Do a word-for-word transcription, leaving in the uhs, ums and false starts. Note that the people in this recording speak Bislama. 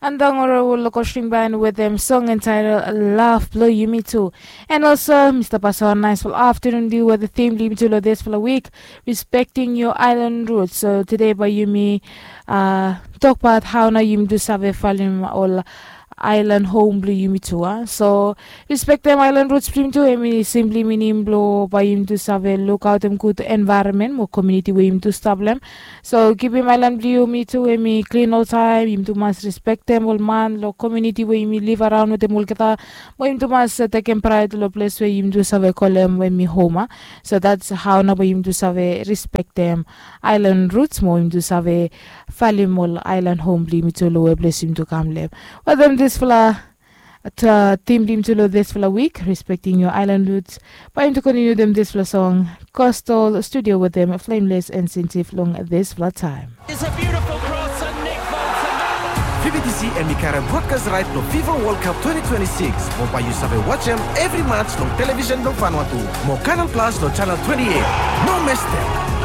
Antangoro will lokosring ban wetem song entitled Love Blow Yumi Too. And also, Mr. Pastor, nice for afternoon deal with the theme lim to this for the week, respecting your island roots. So today by Yumi, uh, talk about how now Yumi do save falim all island home blue Yumi too. Uh. So respect them island roots blim too. Emi simply meaning blow by Yumi do save look out them good environment, more community where Yumi do stop them. So kipim island blue Yumi too, emi clean all time. Yumi do must respect them all man, lo community where Yumi live around with them all kata. Mo Yumi do must uh, take them pride lo place where Yumi do save call them where me home. Uh. So that's how na bo Yumi do save respect them island roots, mo Yumi do save falim all island home blim too lo where place Yumi do come lem. Well, them this fla uh, theme blim too lo this fla week, respecting your island roots. By Yumi do continue them this fla song, Coastal Studio with them, Flameless and Sensitive long this fla time. It's a beautiful cross and Nick Bolton. Fibidisi emi karem broadcast right lo FIFA World Cup twenty twenty-six. Mo by Yumi save watch em every match long television long Vanuatu. Mo Canal Plus lo channel twenty-eight. No miss them.